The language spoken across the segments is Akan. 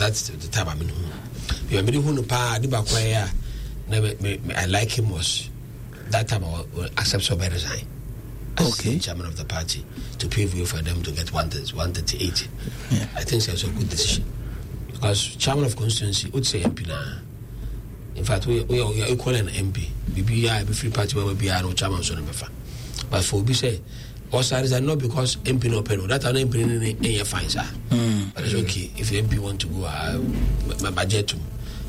That's the time I mean who. Me me hu no paa ade baako ayɛ a na me me I like him was that time I will accept so resign. As okay. chairman of the party to pave way for them to get 138. Yeah. I think that's a good decision. Because chairman of constituency would say MP now. In fact, we are, we are equal an MP. BBI, be free party, we are no chairman, so never. But for be say, also resign not because MP no pen, that an MP no ɛyɛ fine sir. But it's okay if MP want to go, my budget to.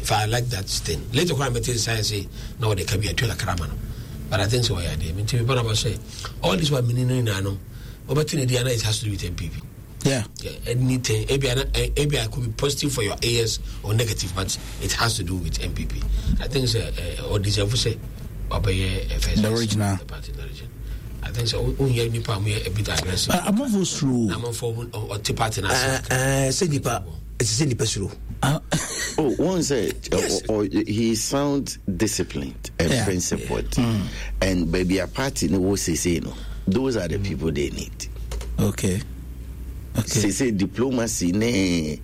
If I like that thing. Later, when I met science, say now they can be a kakra man. But I think so. Yeah, they mean to be but say all this one meaning no no. But in the it has to do with MPP. Yeah. Yeah, anything. Maybe maybe I could be positive for your AS or negative, but it has to do with MPP. I think so. Or deserve say, first. The original. The party, the original. I think so. Who nipa mu yɛ a bit aggressive. Amanfo suro. Amanfo ɔte party na ase. Sɛ nipa ɛsɛ sɛ nipa suro. Oh, one say yes. He sounds disciplined and yeah. principled, yeah. And baby a party no wo say no. Those are the people they need. Okay. Okay. Say diplomacy ne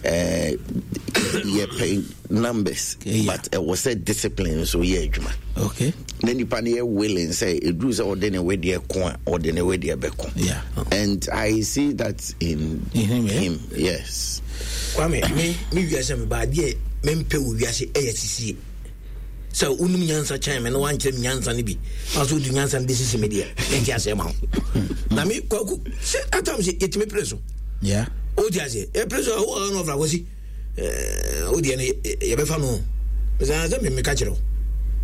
yɛpɛ numbers yeah. but ɛwɔ sɛ discipline nso yɛ adwuma okay. na nipa no yɛ willing sɛ ɛduru sɛ ɔde ne wedeɛ ko a ɔde ne wedeɛ bɛko yeah. And I see that in him, yeah? Him, yes. Kwame, me wiase me baadeɛ mempɛ wɔ wiase ɛyɛ sisie sɛ wonim nyansa kyɛn me na woankyerɛ me nyansa no bi na sɛ wode nyansa no bɛsisi me deɛ mente aseɛ ma wo na me kwaku sɛ atam sɛ yɛtumi pere so wote aseɛ yɛpere so a wowɔ no ɔfra kwasi wodeɛ no yɛbɛfa no sɛ sɛ memeka kyerɛ wo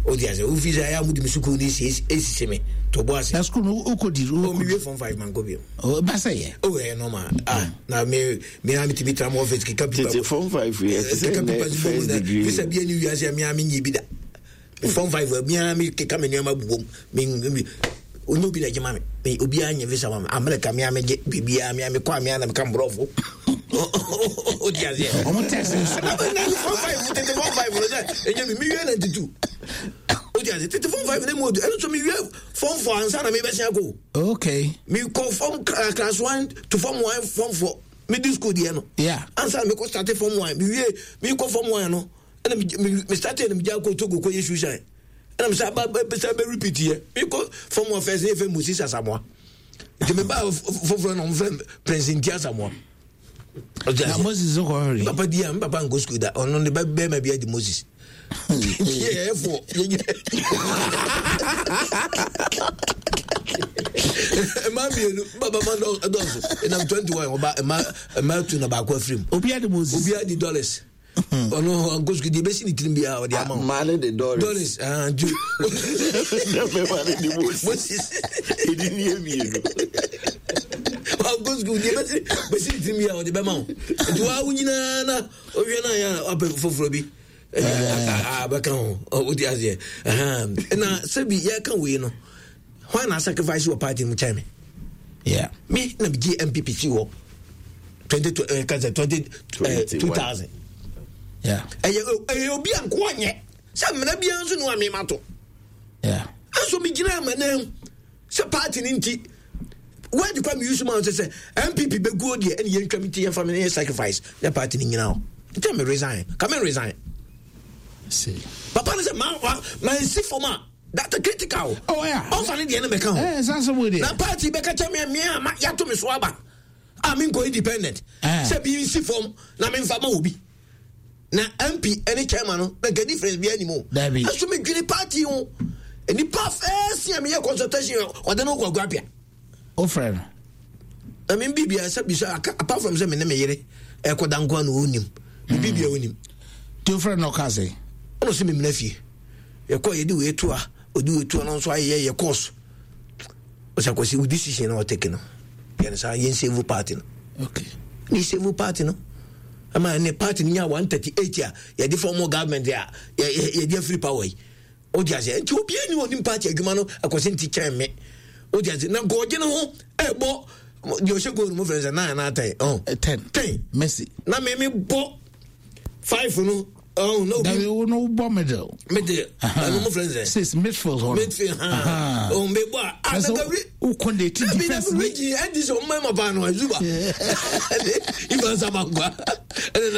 wote aseɛ wofi sɛ ɛyɛ a mode me sukuu no ɛsisi me to bɔ ase na sukuu no wokɔdi mewie form 5 mankɔ bio ba sɛ yɛ oh ɛyɛ normal ah na me me a metumi tra mo office keka pipa tete form 5 yɛ keka pipa first degree visa bia ne wiase a me a menyi bi da form 5 me a me keka me nneɛma bobom me me onye obi na gye ma me me obi a nye visa ma me America me a me gye biribiara me a me kɔ a me a na meka mborɔfo o ti aseɛ ɔmo test nso na form 5 tete form 5 no sɛ ɛnyɛ me mewie 92 o ti aseɛ tete form 5 ne mu odu ɛno nso mewie form 4 ansa na mebɛsia kɔ okay mekɔ form class 1 to form 1 form 4 medi school deɛ no yeah ansa na mekɔ start form 1 mewie mekɔ form 1 no ɛna me start na megya kɔ Togo kɔ yɛ shoe shine ɛna me sa ba ba bɛ repeat yɛ mekɔ form 1 first ne yɛfɛ Moses Asamoah nti meba foforɔ na ɔmfrɛ Prince Nti Asamoah na Moses kɔ hwere papa di a papa nkɔ school da ɔno ne ba bɛrima bi adi Moses yɛyɛ fo mmaa mmienu baba ma dɔɔso ɛnam 21 ɔba mmaa mmaa tu na baako afiri mu obi adi Moses obi adi dollars ɔno ɔnkɔ sukuu deɛ ebesi ne tirim biara ɔde ama wo maa ne de dollars dollars ju bɛma ne de Moses ɛdi ne yɛ mmienu ɔnkɔ sukuu deɛ ebesi besi ne tirim biara ɔde bɛma wo nti waa wo nyinaa na ɔhwɛ na yɛ a wapɛ foforɔ bi bɛka ho wode aseɛ na sɛbi yɛka wei no hwan na sacrifice wɔ party mu kyɛn me yeah. Me na megye MPP si hɔ 20 kasa 20 2000 yeah. Ɛyɛ ɛyɛ obi a nkoa nyɛ sɛ mmara biara nso ne wa mema to yeah. Nso megyina ama no sɛ party no nti word kwa mi use ma sɛ sɛ MPP bɛguo deɛ ɛne yɛntwa me ti yɛmfa me yɛ sacrifice na party no nyina hɔ nti me resign ka me resign See. Papa no sɛ mansi fam a that's critical. Oh, yeah. Ɔmfa ne deɛ no bɛka ho na party bɛka kyɛ me me a yɛato me so aba a menkɔ independent sɛ bi nsi fam na memfa ma obi na MP ne chairman no na nka difference bi anim o ɛso medwene party ho nipa fɛɛsi a meyɛ consultation ɔde no kɔ aguapia wofrɛ no na me bibia sɛ bisa apart from sɛ me ne me yere ɛkɔda nko a na ɔnim me bibia ɔnim nti wofrɛ no ɔka sɛ ɔno sɛ memena fie yɛkɔ yɛde wei to a ɔde wei to a no nso ayɛyɛ yɛ course ɔsɛ akɔsi wo decision na ɔtake no yɛne saa yɛn save party no okay ne save party no ama ne party no nya 138 a yɛde form government a yɛde afiri power yi wode aseɛ nti obiara ni ɔnim party adwuma no akɔsi nti kyɛn me wode aseɛ na nkɔɔgye no ho ɛbɔ deɛ ɔhyɛ goal no mo fɛn sɛ nine anaa 10 ɔn 10 10 Messi na me me bɔ 5 no ɔn na obi dabi wo no bɔ middle middle ɛno mo fɛn sɛ 6 midfield hɔ midfield ha ɔn me bɔ a ah na gabi wo kɔn de ti defense ni dabi region ɛdi sɛ ɔmo mɛma paa no azuba Ivan Samankwa ɛna.